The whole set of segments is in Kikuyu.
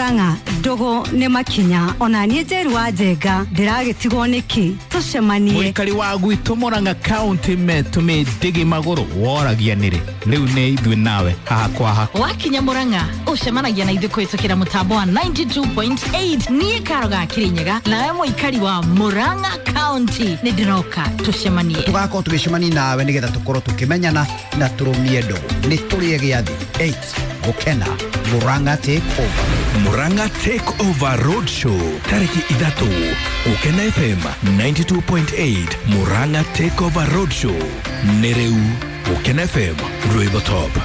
Murang'a ndugu nĩ makinya ona niĩ Njeru wa Njenga ndĩragĩtigwo nĩkĩ tũcemanie. Mũikari wa gwitũ Murang'a County metũmĩ ndĩgĩ magũrũ woragia nĩrĩ rĩu nĩ ithuĩ nawe haha kwa haha. Wakinya Murang'a ũcemanagia na ithuĩ kũhĩtũkĩra mũtambo wa 92.8. Niĩ Karo ga Kĩrĩnyaga nawe mũikari wa Murang'a County nĩ ndĩroka tũcemanie. Tũgakorwo tũgĩcemania nawe nĩgetha tũkorwo tũkĩmenyana na tũrũmie ndũgũ. Nĩ tũrĩe gĩathĩ 8 gũkena Murang'a Take Over. Murang'a Take Over Road Show tariki 3 Gukena FM 92.8. Murang'a Take Over Road Show nĩ rĩu Gukena FM rwĩmbo top.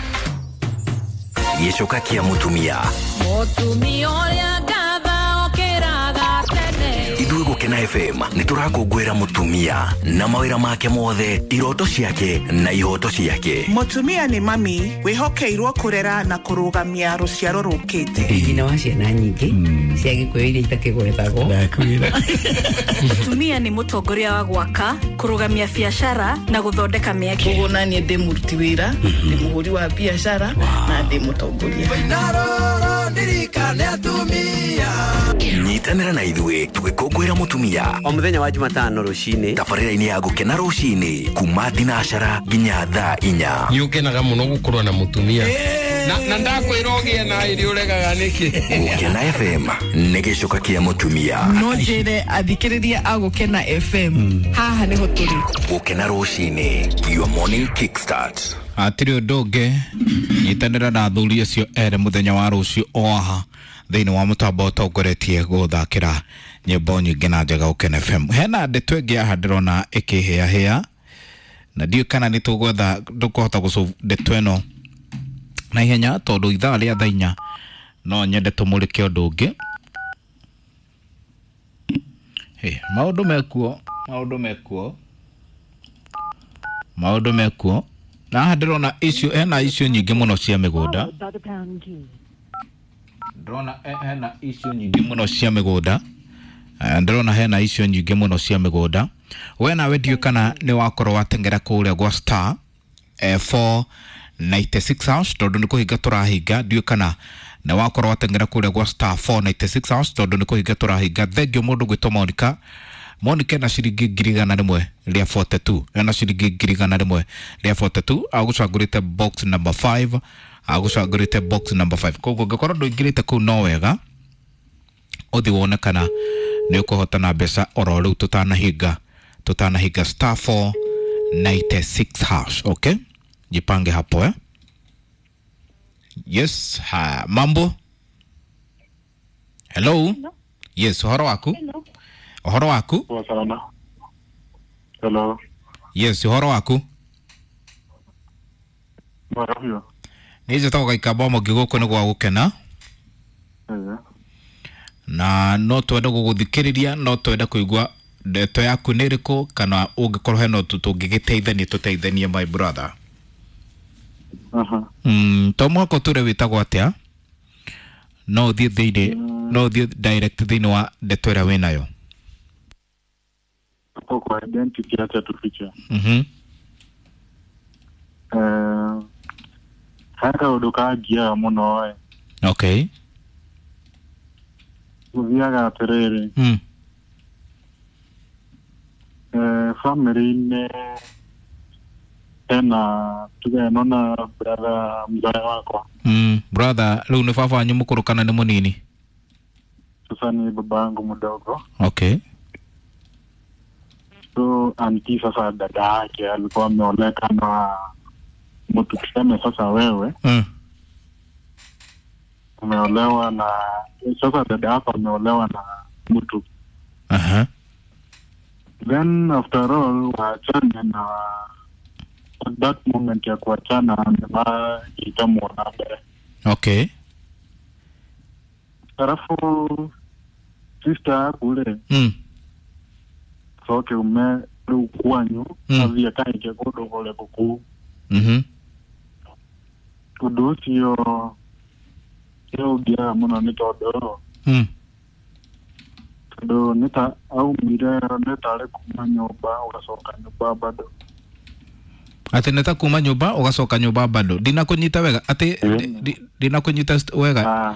Gĩcoka kĩa mũtumia. Mũtumia ũrĩa ngatha okĩraga tene. Ithuĩ Gũkena FM nĩ tũrakũngũĩra mũtumia na mawĩra make mothe, iroto ciake na ihoto ciake. Mũtumia nĩ mami wĩhokeirwo kũrera na kũrũgamia rũciaro rũkĩte. Nyina wa ciana nyingĩ cia Gĩkũyũ iria itakĩgwetagwo. Mũtumia nĩ mũtongoria wa gwaka, kũrũgamia biacara na gũthondeka mĩeke. Koguo naniĩ ndĩ mũruti wĩra, ndĩ mũhũri wa biacara na ndĩ mũtongoria. Nyitanĩra na ithuĩ tũgĩkũngũĩra mũtumia o mũthenya wa Jumatano rũcinĩ tabarĩra-inĩ ya Gũkena rũcinĩ kuma thinacara nginya thaa 4. Nĩ ũkenaga mũno gũkorwo na mũtumia na ndakwĩra ũgĩe na ĩrĩ ũregaga nĩkĩ. Gũkena FM nĩ gĩcoka kĩa mũtumia. No njĩre athikĩrĩria a Gũkena FM haha nĩho tũrĩ. Gũkena rũcinĩ, your morning kickstart. Hatirĩ ũndũ ũngĩ, nyitanĩra na athuri acio erĩ mũthenya wa rũciũ o haha thĩinĩ wa mũtambo ũtongoretie gũthakĩra nyĩmbo nyingĩ na njega Gũkena FM. Hena ndeto ĩngĩ haha ndĩrona ĩkĩhĩahĩa na ndiũĩ kana nĩ tũgwetha ndũkũhota gũcũ ndeto ĩno na ihenya tondũ ithaa rĩa thaa 4 no nyende tũmũrĩke ũndũ ũngĩ. Maũndũ mekuo, maũndũ mekuo, maũndũ mekuo. Na haha ndĩrona icio hena icio nyingĩ mũno cia mĩgũnda. Ndĩrona hena icio nyingĩ mũno cia mĩgũnda. Ndĩrona hena icio nyingĩ mũno cia mĩgũnda. We nawe ndiũĩ kana nĩ wakorwo wateng'era kũrĩa gwa star 496 house tondũ nĩ kũhinga tũrahinga. Ndiũĩ kana nĩ wakorwo wateng'era kũrĩa gwa star 496 house tondũ nĩ kũhinga tũrahinga. Thengiũ mũndũ gwĩtwo Monica. Monica ena ciringi 142,000, ena ciringi 142,000, agũcagũrĩte box number 5, agũcagũrĩte box number 5. Koguo ũngĩkorwo ndũingĩrĩte kũu no wega ũthiĩ wone kana nĩ ũkũhota na mbeca oro rĩu tũtanahinga star 496 hash. Okay, jipange hapo eh? Yes, ha, mambo. Hello. Yes, ũhoro waku? Ũhoro waku? Hello. Yes, ũhoro waku? Nĩ njĩtagwo Gaikamba Mũngĩ gũkũ nĩ gwa Gũkena. Na no twende gũgũthikĩrĩria, no twende kũigua ndeto yaku nĩ ĩrĩkũ kana ũngĩkorwo hena ũndũ tũngĩgĩteithania tũteithanie my brother. To mũhaka ũtũre wĩtagwo atĩa? No ũthiĩ thĩinĩ, no ũthiĩ direct thĩinĩ wa ndeto ĩrĩa wĩnayo. Kwa identity acha tufiche. Haya kaũndũ kangiaga mũno ĩ. Okay. Gũthiaga atĩrĩrĩ. Family-inĩ hena tuge ĩno na brother mzae wakwa. Brother rĩu nĩ baba wanyu mũkũrũ kana nĩ mũnini? Sasa ni baba yangu mdogo. Okay. So anti sasa dada yake alikuwa ameoleka na mtu tuseme sasa wewe umeolewa na sasa dada yako ameolewa na mtu. Then after all waachane, na at that moment ya kuachana itamuona mbele. Okay. Alafu sister kule coke ume rĩu kwanyu athiĩ akaike kũndũ kũrĩa kũu. Ũndũ ũcio nĩ ũngiaga mũno nĩ tondũ tondũ nĩ ta aumire nĩ tarĩ kuma nyũmba ũgacoka nyũmba bado. Atĩ nĩ ta kuma nyũmba ũgacoka nyũmba bado. Ndinakũnyita wega atĩ ndinakũnyita wega.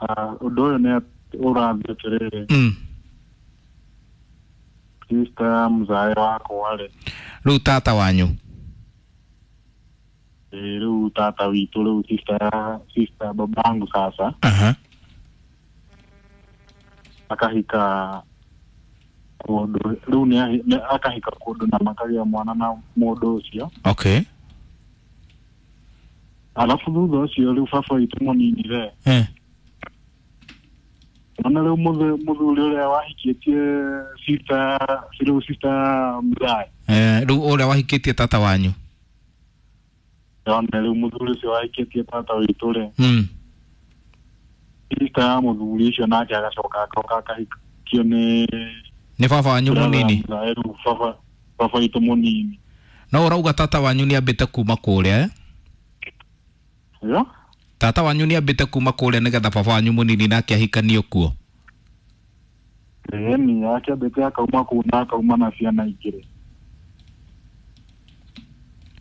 Ũndũ ũyũ nĩ ũrathiĩ atĩrĩrĩ. Sister ya mũzae wakwa rĩ. Rĩu tata wanyu. Rĩu tata witũ rĩu sister babangu sasa. Akahika kũndũ rĩu nĩ akahika kũndũ na makagĩa mwana na mũndũ ũcio. Okay. Alafu thutha ũcio rĩu baba witũ mũnini rĩ. Ona rĩu mũthuri ũrĩa wahikĩtie sister rĩu sister mũthae. Rĩu ũrĩa wahikĩtie tata wanyu. Ona rĩu mũthuri ũcio wahikĩtie tata witũ rĩ. Sister ya mũthuri ũcio nake agacoka agoka akahikio nĩ baba wanyu mũnini. Rĩu baba witũ mũnini. No ũrauga tata wanyu nĩ ambĩte kuma kũrĩa? Yo? Tata wanyu nĩ ambĩte kuma kũrĩa nĩgetha baba wanyu mũnini nake ahikanio kuo. Ĩni akĩambĩte akauma kũu na akauma na ciana igĩrĩ.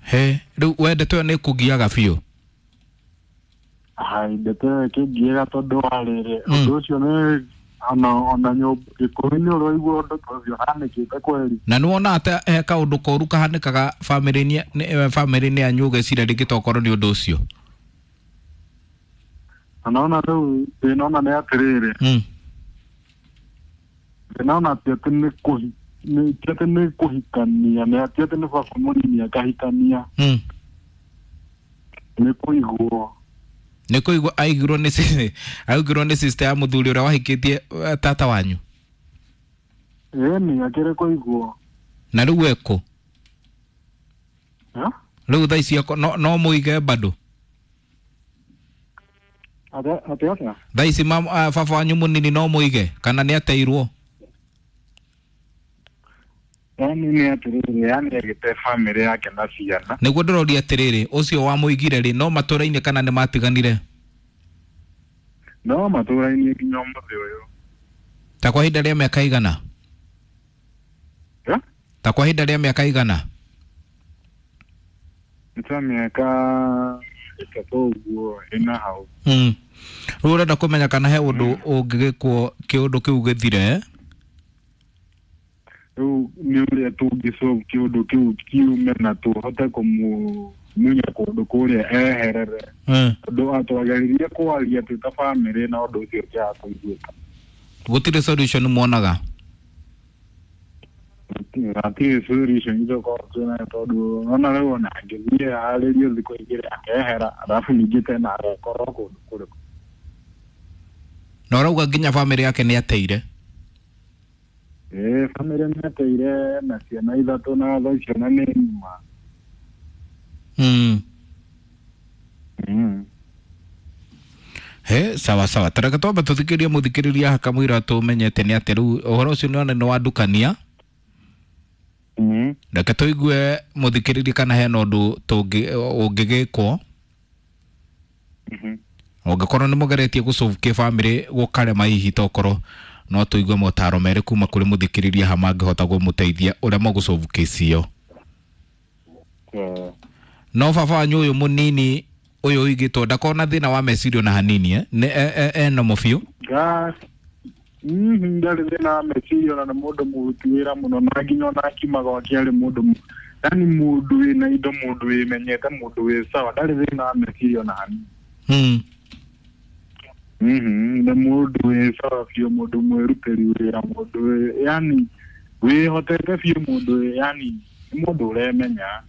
He, rĩu we ndeto ĩyo nĩ ĩkũgiaga biũ? Hai, ndeto ĩyo ĩkĩngiaga tondũ wa rĩrĩ, ũndũ ũcio nĩ ona nyũmba gĩkũyũ-inĩ ũraigua ũndũ ta ũcio ũhanĩkĩte kweri. Na nĩ wona atĩ he kaũndũ koru kahanĩkaga bamĩrĩ-inĩ yanyu ũgeciria rĩngĩ tokorwo nĩ ũndũ ũcio? Naona rĩu thĩna ona nĩ atĩrĩrĩ. Thĩna ona ti atĩ nĩ kũhikania, nĩ ti atĩ nĩ baba mũnini akahikania. Nĩ kũigwo. Nĩ kũigwo aigirwo nĩ sister ya mũthuri ũrĩa wahikĩtie tata wanyu. Ĩni akĩrĩ kũigwo. Na rĩu ekũ? Rĩu thaa ici no mũige bado? Atĩ atĩa? Thaa ici baba wanyu mũnini no mũige kana nĩ ateirwo? Yani nĩ atĩrĩrĩ, yani agĩte bamĩrĩ yake na ciana. Nĩguo ndĩroria atĩrĩrĩ, ũcio wamũigire rĩ no matũra-inĩ kana nĩ matiganire? No matũra-inĩ nginya ũmũthĩ ũyũ. Ta kwa ihinda rĩa mĩaka igana? Ta kwa ihinda rĩa mĩaka igana? Nĩ ta mĩaka 3 ũguo ĩna hau. Rĩu ũrenda kũmenya kana he ũndũ ũngĩgĩkwo kĩũndũ kĩu gĩthire? Rĩu nĩ ũrĩa tũngĩsolve kĩũndũ kĩu kiume na tũhote kũmũmunya kũndũ kũrĩa eherere. Tondũ atwageririe kwaria twĩ ta bamĩrĩ na ũndũ ũcio ũkĩaga kũiguĩka. Gũtirĩ solution muonaga? Hatirĩ solution tũkorwo twĩnayo tondũ ona rĩu ona angĩthiĩ arĩrio thikũ igĩrĩ akehera arabu ningĩ tena agekorwo kũndũ kũrĩkũ. Na ũrauga nginya bamĩrĩ yake nĩ ateire? Bamĩrĩ nĩ ateire na ciana 3 na thaa ciana nĩ ng'ima. He, sawa sawa. Tareke twambe tũthikĩrie mũthikĩrĩria hakamũira tũmenyete nĩ atĩ rĩu ũhoro ũcio nĩwona nĩ wandukania. Reke tũigue mũthikĩrĩria kana hena ũndũ ũngĩgĩkwo. Ũngĩkorwo nĩ mũgeretie gũsolve kĩbamĩrĩ gũkarema hihi tokorwo no tũigue motaro merĩ kuma kũrĩ mũthikĩrĩria ha mangĩhota kũmũteithia ũrĩa mũgũsolve kesi ĩyo. No baba wanyu ũyũ mũnini ũyũ ũigĩtwo ndakona thĩna wa meciria ona hanini nĩ eno biũ? Ndarĩ thĩna wa meciria ona nĩ mũndũ mũruti wĩra mũno na nginya ona akiuma gwake arĩ mũndũ yani mũndũ wĩna indo, mũndũ wĩmenyete, mũndũ wĩ sawa, ndarĩ thĩna wa meciria ona hanini. Nĩ mũndũ wĩ sawa biũ, mũndũ mwĩrutĩri wĩra, mũndũ yani wĩhotete biũ, mũndũ yani nĩ mũndũ ũremenya.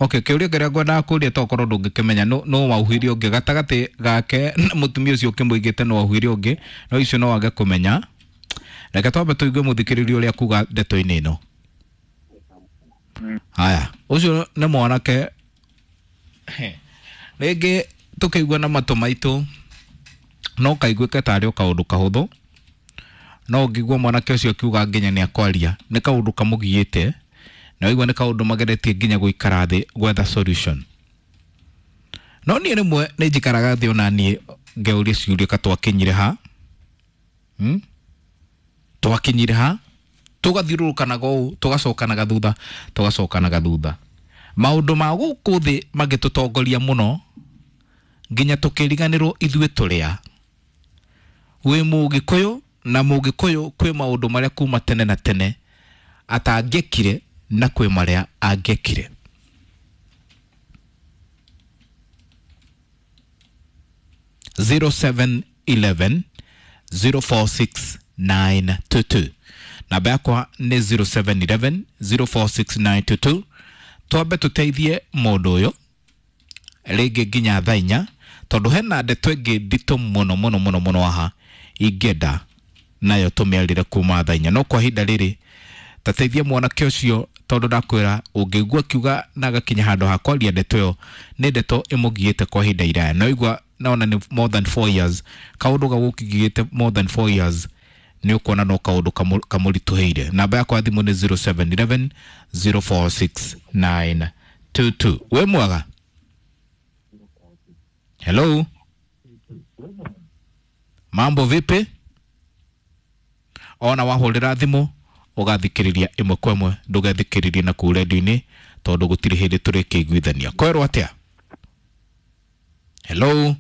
Okay, kĩũria kĩrĩa ngwendaga kũria tokorwo ndũngĩkĩmenya no wauhire ũngĩ gatagatĩ gake na mũtumia ũcio ũkĩmũigĩte no wauhire ũngĩ no icio no wage kũmenya. Reke twambe tũigue mũthikĩrĩria ũrĩa kuga ndeto-inĩ ĩno. Haya, ũcio nĩ mwanake rĩngĩ tũkĩigua na matũ maitũ no kaiguĩke tarĩ o kaũndũ kahũthũ, no ũngĩigua mwanake ũcio akiuga nginya nĩ akwaria nĩ kaũndũ kamũgiĩte na waigua nĩ kaũndũ mageretie nginya gũikara thĩ gwetha solution. No niĩ rĩmwe nĩ njikaraga thĩ ona niĩ ngeuria ciũria ka twakinyire ha, twakinyire ha, tũgathiũrũrũkanaga ũũ tũgacokanaga thutha tũgacokanaga thutha. Maũndũ ma gũkũ thĩ mangĩtũtongoria mũno Nginya tũkĩriganĩrwo ithuĩ tũrĩa. Wĩ Mũgĩkũyũ na Mũgĩkũyũ kwĩ maũndũ marĩa kuma tene na tene atangĩkire na kwĩ marĩa angĩkire. 0711 046922. Namba yakwa nĩ 0711 046922. Twambe tũteithie mũndũ ũyũ rĩngĩ nginya thaa 4, tondũ hena ndeto ĩngĩ nditũ mũno mũno mũno mũno haha ingĩenda nayo tũmĩarĩre kuma thaa 4. No kwa ihinda rĩrĩ tateithie mwanake ũcio, tondũ ndakwĩra ũngĩigua akiuga na agakinya handũ ha kwaria ndeto ĩyo, nĩ ndeto ĩmũgiĩte kwa ihinda iraya. No igua naona nĩ more than 4 years, kaũndũ gagũkĩgiĩte more than 4 years, nĩ ũkuona no kaũndũ kamũritũhĩire. Namba yakwa ya thimũ nĩ 0711 046922. Wĩ mwega? Hello, mambo vipi? Ona wahũrĩra thimũ ũgathikĩrĩria ĩmwe kwa ĩmwe, ndũgethikĩrĩrie na kũu redio-inĩ tondũ gũtirĩ hĩndĩ tũrĩkĩiguithania. Kwerwo atĩa? Hello.